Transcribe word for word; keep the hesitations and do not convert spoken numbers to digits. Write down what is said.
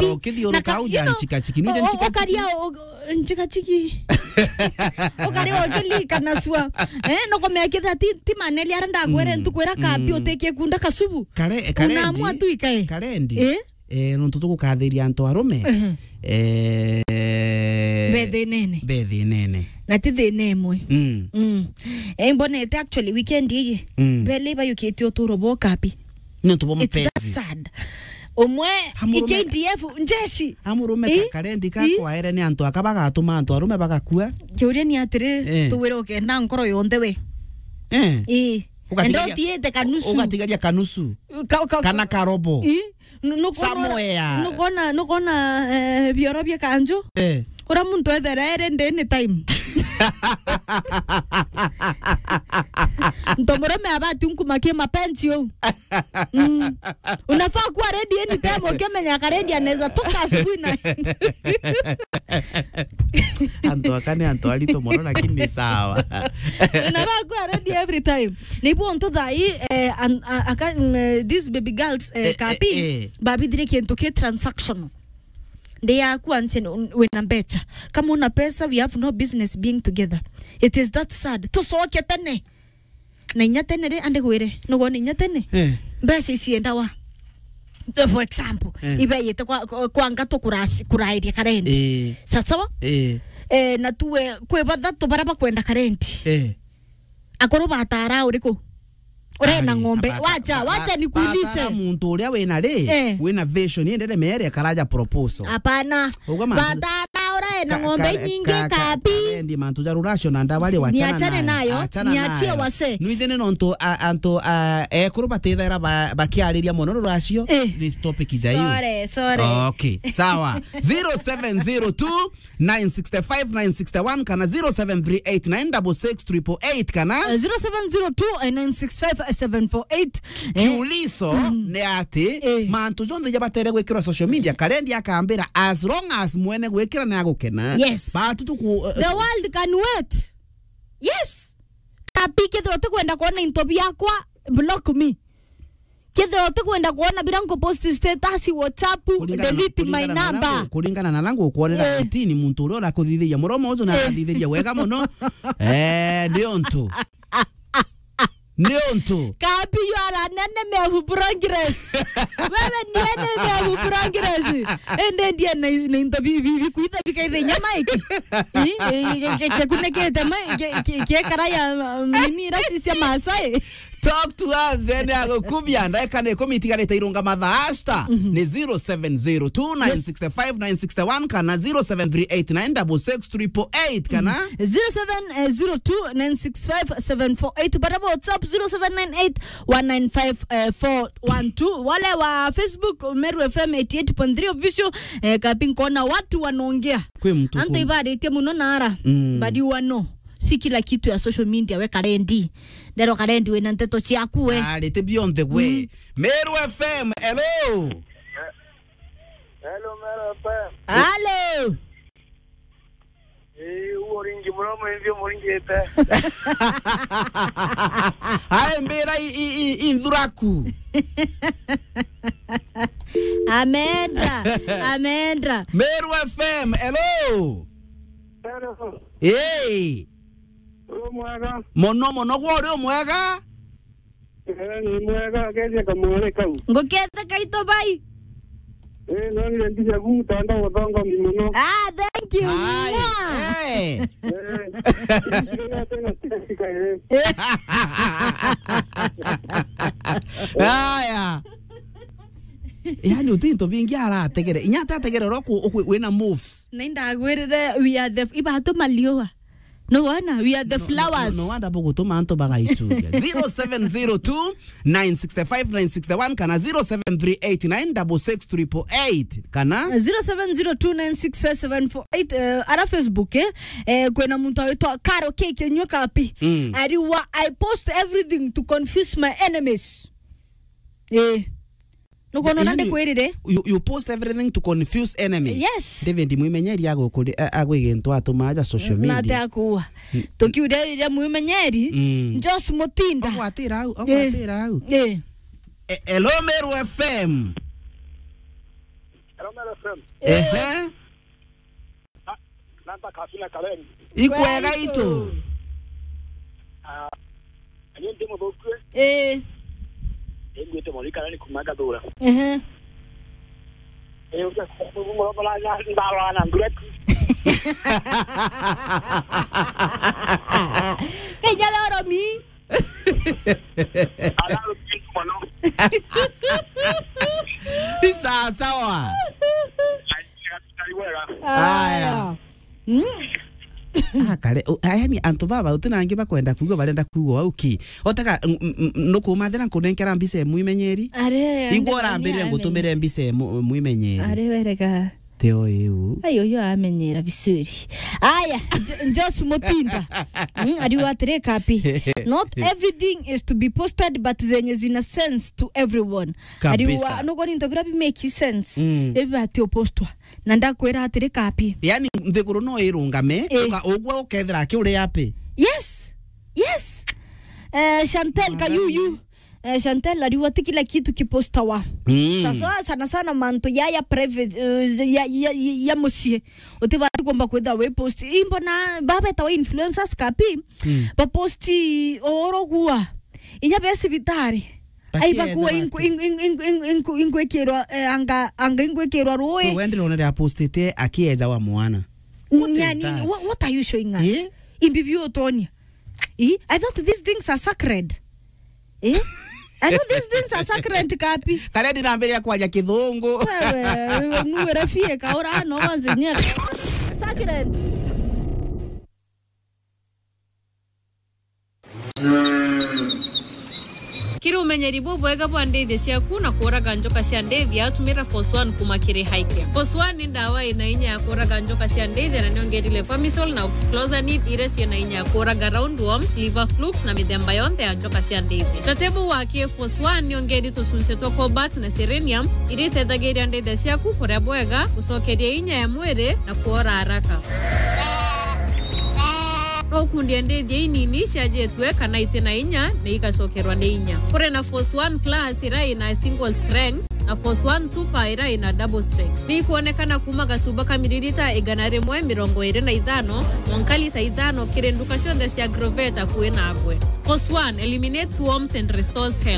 Kapi. Ukithiuruka na ka-, uja you know, nchikachiki. Nuje o-, o-, nchikachiki? Ukaria o-, nchikachiki. Ukaria ukilikanasua. Eh, nukumea kethira ti, ti maneli aria ndagwere, mm, ntuku iria Kapi, mm, utikie kunda kasubu. Kare-, karendi. Unaamua tu ikae. Karendi. Eh? Eh, nontu tugukathiria antu arume. Mhm. Eh, be thinene. Be thinene. Na ti thina imwe. Mm. Mm. Eh, mbonete actually weekend ii. Mm. Bele bayukitie uturo bwa Kapi. Nontu bwa mapenzi. It's that sad. Umwe, amurume, K D F, njeshi. Amurume, ii? Ka-, karendi, ii? Kakwaere ni antu aka bagatuma antu arume bagakua. Kiuria ni atiri, eh, tuwire ukenda nkoro yonthe we. Eh. Ii. Ugatigaria, enda utiite kanusu. Ugatigaria kanusu. Ka-, ka-, kana karobo. Ii? Nu-, nukona, somewhere. Nukona, nukona, eh, bioro bia kanju? Eh. Ura muntu ethere ere ndini time. Nto murume abati nkumakie mapenzi uu. Mm. Unafaa kuwa ready anytime ukimenya karendi anaweza toka asubuhi na antu aka ni antu aritu mono, lakini ni sawa. Unafaa kuwa ready every time. Nibu ntu thai, eh, an-, a-, aka, mm, eh, these baby girls, eh, eh, Kapi, eh, eh, babithire kintu ki transactional. Ndi yaku anse n-, wina mbecha. Kama una pesa, we have no business being together. It is that sad. Tucoke tene. Na inya tene ri, andi gwire, nugwona inya tene? Eh. Mbeca iciendawa. For example, eh, ibeyite kwa, kwa, kwa ngatu kuraci-, kurairia karendi. Eh. Sawa sawa? Eh. Eh, na tuwe kwi bathatu baria bakwenda karendi. Eh. Akuru batara uriku? Urena ng'ombe. Wacha, wacha nikuulize. Batara muntu uria wina ri, eh, wina vision, yendere mere karaja proposal. Hapana. Uga mantu, batara urena ng'ombe nyingi, Kapi. Karendi mantu ja ruracio na ndawa ri, wachana nayo. Niachane nayo. Achana nayo. Niachie wase. Nwizene nontu a-, antu a-, ekuru batithaira ba-, bakiariria mono ruracio. Eh. Ni topic ja iyo. Sorry, sorry. Okay, sawa. Zero seven zero two nine six five nine six one kana zero seven three eight nine six six triple eight kana, eh, zero seven zero two nine six five seven four eight. Eh. Kiuliso, mm, ni ati, eh, mantu jonthe ja batere gwikirwa social media, karendi akambira, as long as mwene gwikira ni agukena. Yes. Batu tu ku-, eh, the world can wait. Yes. Kapi, kethira utikwenda kuona into biakwa, block me. Kethira utikwenda kuona biria nkupost status, WhatsApp, delete my number. Kuringana na nangu, kuringana na nangu, kuonera, eh, itini muntu uria urakuthithiria muromo ucio na, eh, arathithiria wega muno. Eh, ni untu. Ni untu. Kapi, you are an enemy of progress. Wewe ni enemy of progress. Ende ndie na, na into bi, bi, bi, kuitha bikaitha inya maiki. Ii, ii, ke-, ke-, kunikite mai, ke-, ke-, ke karaya, um, nini, rasi cia Maasai. Talk to us, then ya gukubia, ndaika ni ikumi itigarite irunga mathaa, hashtag ni zero seven zero two nine six five nine six one kana zero seven three eight nine six six triple eight kana zero seven zero two nine six five seven four eight, bara WhatsApp zero seven nine eight one nine five four one two. Wale wa Facebook, Meru F M eighty eight point three official, eh, Kapi, nkona watu wanaongea. Kwi mtu antu ku- ibaritie muno nara, mm, but you are no. Si kila kitu ya social media we karendi. Ndero karendi wina nteto ciaku we. Arite bionthe gwe. Mm. Meru F M, hello. Hello, Meru F M. Hello. Eh, uo ringi muno mwingi umuringite. Ae mbira i, i, i, i nthuraku. Amendra, amendra. Meru F M, hello. Hello. Hey. Uri mwega? Mono, mono, gwe uri umwega? Eh, ni mwega, akeethia kamwari kau. Ngukethe kaito bai. Eh, nonire mbica ku mutandao uthongomi muno. Ah, thank you. Ai, mwah. Eh. Eh, tena, tena, tena, eh. Eh. Aya. Yaani, uti into bingi arategere. Inya atategere uria ku-, uku-, wina moves. Na indagwirire, we are the f-, ibatu maliua. No wona, we are the flowers. No, no, no wonder bugutuma antu bagaicuria. Zero seven zero two nine six five nine six one kana zero seven three eight nine six six triple eight kana zero seven zero two nine six five seven four eight, eh, ara Facebook, eh, eh, kwina muntu awitwa Karo K Kinyua Kapi. Mm. Ariwa, "I post everything to confuse my enemies." Eh. Nukwona na ndikwirire? You, you post everything to confuse enemy. Yes. David Mwimenyeri agukuri-, a-, agwigintu atuma aja social media. Na ate akuua. Mm. Tukiuria iria Mwimenyeri, mm, Josh Mutinda. Ogwatira au, eh, ogwatira au. Eh. E-, hello, Meru F M. Kamera F M. Ehe. Na, namba kasina Karen. Ikwega itu. Ah, ni ndi muthuku. Eh. Ndi ndi murika ni kumaga thura. Ehe. Eh, uja kumuromba na ndaro na ndure. Kenya loro mi. Ni sawa sawa. Aya. Mm. Ah, kare, u-, a, yani, antu baba, uti na angi bakwenda kuigua, barenda kuigua au ki? Otega, n-, n-, n-, nukumathira nkunenkera mbica imwe imenyeri? Are, igua ande urambirire bani ngutumire mbica imwe, imwe imenyeri. Are, werega. Teo iu. Ai, uyu amenyera vizuri. Aya, Jo-, Josh Mutinda. Mm, ariuga atiri, Kapi. Not everything is to be posted, but zenye zina sense to everyone. Kabisa. Ariuga, nugo ni into bira bi make sense. Mm. Bibi bati upostwa. Na ndakwira atiri, Kapi. Yani, nthiguru no irungame, eh, uka-, ugwe ukethira aki uri happy. Yes. Yes. Eh, Chantel Kayuyu. Eh, Chantel ariuga ti kila kitu kipostawa. Mm. Sasa sana sana mantu ya, ya private, eh, ya, ya, ya, ya mucii. Utibati kuomba kwitha wi post. Imbona baba betawa influencers, Kapi. Mm. Baposti oro gua. Inya be cibitari. Ai, bakuwa inku-, inku-, inku-, inku-, inku-, ingwikirwa, eh, anga, anga ingwikirwa rui. We ndirona ria postite akieza wa mwana. What is that? What, what are you showing us? Eh? Imbi biu utonia. Eh? I thought these things are sacred. Eh? I thought these things are sacred, Kapi. Kare ndinambiria kwaria kithungu. Wewe, wewe, nuwe rafie kaura no wanze nya. Sacred. Kiri umenyeri bubwega bwa ndithia ciaku na kuuraga njoka cia ndithia, tumira Force One kuma kiri Highcare. Force One ni ndawa ina inya ya kuuraga njoka cia ndithia na niongerile Clomisil na Oxclosanid iria ciina inya ya kuuraga roundworms, liver flukes na mithemba yonthe ya njoka cia ndithia. Tatebu wa ki Force One niongeri tucunci twa cobalt na selenium iria itethagiria ndithia ciaku kuria bwega, gucokeria inya ya mwiri na kuora haraka. No ukundie ndithia inini ciajitue kana iti na inya na igacokerwa ni inya. Kuri na Force One Plus iria ina single strength na Force One Super iria ina double strength. Ni ikwonekana kuma gacuba ka miririta igana rimwe mirongo iri na ithano mwanka lita ithano kiri nduka cionthe cia Agrovet akui nagwe. Force One eliminates worms and restores health.